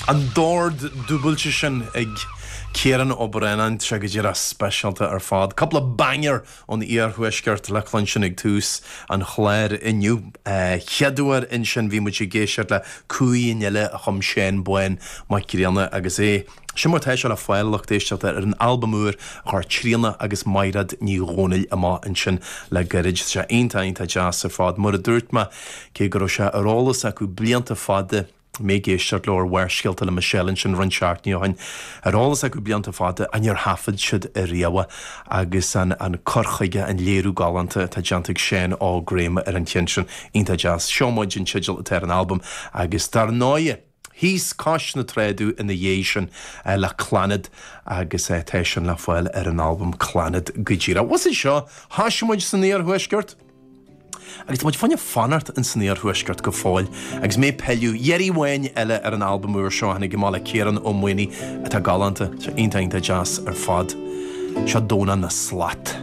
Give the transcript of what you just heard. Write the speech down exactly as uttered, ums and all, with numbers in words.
An dord dúbailte sin ag Ciarán Ó Braonáin sé go díreach speisialta ar fad. Cúpla banger ón iarthuaisceart le cluinstin ag tús an chláir inniu. Chéad uair ansin bhí muid ag éisteacht le Cumhaidh an Fhile a chum Seán Bán Mac Grianna agus é. Sin mar tá sé le fáil lucht éisteachta ar an albam úr a chuir Tríona agus Maighread Ní Dhomhnaill amach ansin le gairid sé iontach iontach deas ar fad mar a dúirt mé cé go raibh sé ar eolas acu blianta fada mé ag éisteacht leo ar Bharrscéalta le Michelle ansin roinnt seachtainí ó shin ar eolas acu blianta fada ach níor thaifead siad ariamh agus an an cur chuige an léiriú galánta atá déanta ag Seán Óg Graham ar an cheann sin iontach deas. Seo muid an teideal atá ar an albam agus dar ndóigh. Thíos cois na Trá ina dhiaidh sin le Clannad agus tá sin le fáil ar an albam Clannad go díreach. Was seo Tá muid san iarthuaisceart? Agus muid fáinne fanacht in san iarthuaisceart go fóill, agus mé peileadh dheirí bhain eile ar an albam úr seo tháinig amach le Ciarán Ó Maonaigh atá galánta sé iontach iontach deas ar fad. Seo Dónal na Slat.